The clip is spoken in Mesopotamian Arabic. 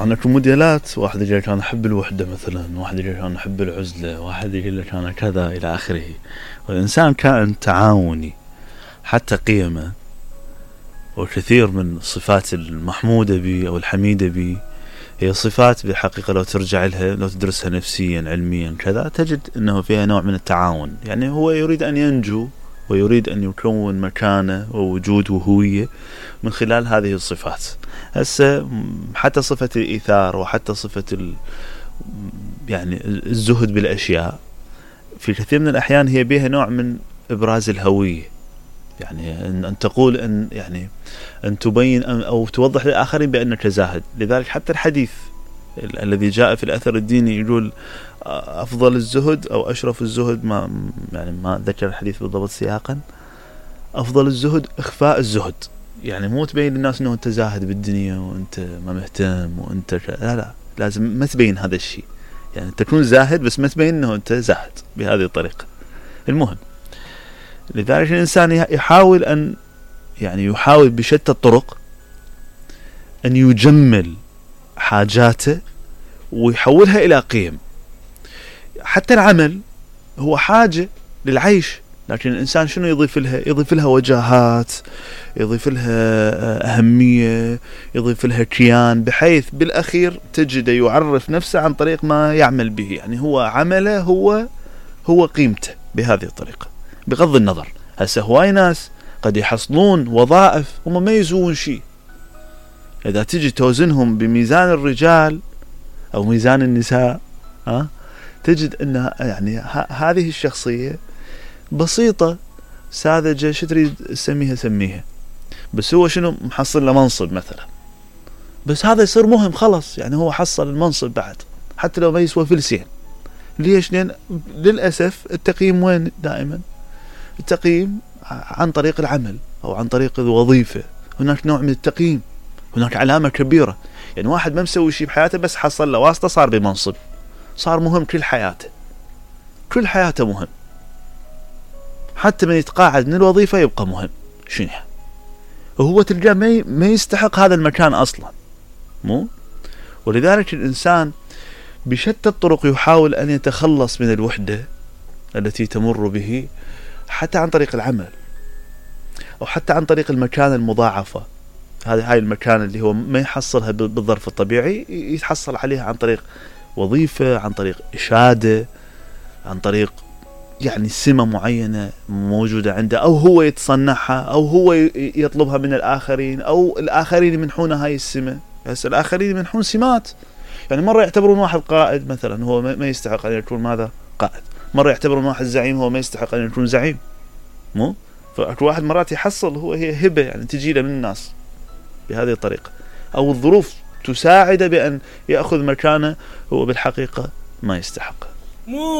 طبعا اكو موديلات، واحد يقول لك انا احب الوحده مثلا، واحد يقول لك انا احب العزله، واحد يقول لك انا كذا الى اخره. والانسان كائن تعاوني، حتى قيمه وكثير من الصفات المحموده به او الحميده به هي صفات بالحقيقه لو ترجع لها، لو تدرسها نفسيا علميا كذا، تجد انه فيها نوع من التعاون. يعني هو يريد ان ينجو ويريد ان يكون مكانه ووجود وهويه من خلال هذه الصفات. هسه حتى صفة الإيثار وحتى صفة يعني الزهد بالأشياء في كثير من الأحيان هي بها نوع من إبراز الهوية. يعني أن تقول أن يعني أن تبين أو توضح للآخرين بأنك زاهد. لذلك حتى الحديث الذي جاء في الأثر الديني يقول أفضل الزهد أو أشرف الزهد، ما ذكر الحديث بالضبط سياقا، أفضل الزهد إخفاء الزهد. يعني مو تبين للناس انه انت زاهد بالدنيا وانت ما مهتم وانت لا لازم ما تبين هذا الشيء. يعني تكون زاهد بس ما تبين انه انت زاهد بهذه الطريقة. المهم لذلك الانسان يحاول بشتى الطرق ان يجمل حاجاته ويحولها الى قيم. حتى العمل هو حاجة للعيش، لكن الإنسان شنو يضيف لها؟ يضيف لها وجاهات، يضيف لها أهمية، يضيف لها كيان، بحيث بالأخير تجده يعرف نفسه عن طريق ما يعمل به. يعني هو عمله هو قيمته بهذه الطريقة. بغض النظر هسه هواي ناس قد يحصلون وظائف هم ما يسوون شيء، إذا تجي توزنهم بميزان الرجال أو ميزان النساء تجد أن يعني هذه الشخصية بسيطة ساذجة، شو تريد سميها، بس هو شنو محصل له منصب مثلا، بس هذا يصير مهم خلص. يعني هو حصل المنصب بعد حتى لو ما يسوى فلسين. ليش؟ لأن للأسف التقييم وين دائما؟ التقييم عن طريق العمل أو عن طريق الوظيفة. هناك نوع من التقييم، هناك علامة كبيرة. يعني واحد ما مسوي شيء بحياته بس حصل له واسطة صار بمنصب، صار مهم كل حياته مهم. حتى من يتقاعد من الوظيفة يبقى مهم. شنو وهو تلقاه ما يستحق هذا المكان أصلا، مو؟ ولذلك الإنسان بشتى الطرق يحاول أن يتخلص من الوحدة التي تمر به، حتى عن طريق العمل أو حتى عن طريق المكان المضاعفة. هاي المكان اللي هو ما يحصلها بالظرف الطبيعي يتحصل عليها عن طريق وظيفة، عن طريق إشادة، عن طريق يعني سمة معينة موجودة عنده، أو هو يتصنعها أو هو يطلبها من الآخرين أو الآخرين يمنحون هاي السمة. بس الآخرين يمنحون سمات. يعني مرة يعتبرون واحد قائد مثلا هو ما يستحق أن يكون ماذا؟ قائد. مرة يعتبرون واحد زعيم هو ما يستحق أن يكون زعيم، مو؟ فأكو واحد مرات يحصل هي هبة يعني تجي له من الناس بهذه الطريقة، أو الظروف تساعده بأن يأخذ مكانه هو بالحقيقة ما يستحق.